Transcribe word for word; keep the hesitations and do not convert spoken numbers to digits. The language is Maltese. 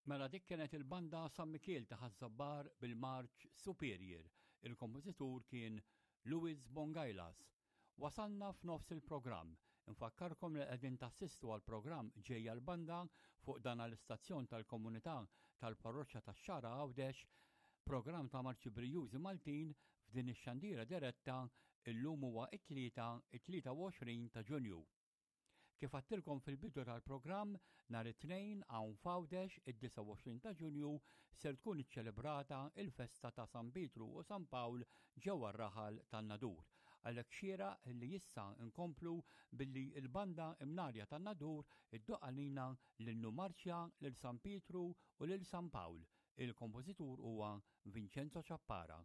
Mela dik kienet il-banda San Mikiel ta' Ħaż-Żabbar bil-Marċ Superior. Il-kompożitur kien Louis Bongailas. Wasalna f'nofs il-programm. Infakkarkom li qegħdin tassistu għal programm ġejja l-banda fuq dan l-istazzjon tal-komunità tal-parroċċa tax-Xagħra Għawdex, programm ta' marċi brijużi Maltin f'din ix-xandira diretta illum huwa it-tlieta it-tlieta u għoxrin ta' Ġunju. Kif għattilkom fil-bidu tal-programm, nhar it-Tnejn hawn f'Għawdex id-disgħa u għoxrin ta' Ġunju ser tkun iċċelebrata il-festa ta' San Pietru u San Pawl ġewwa r-raħal tan-Nadur. Għalhekk xieraq li issa nkomplu billi l-banda Imnarja tan-Nadur iddoqq għalina l-innu marċja lil San Pietru u lil San Pawl. Il-kompożitur huwa Vincenzo Ciappara.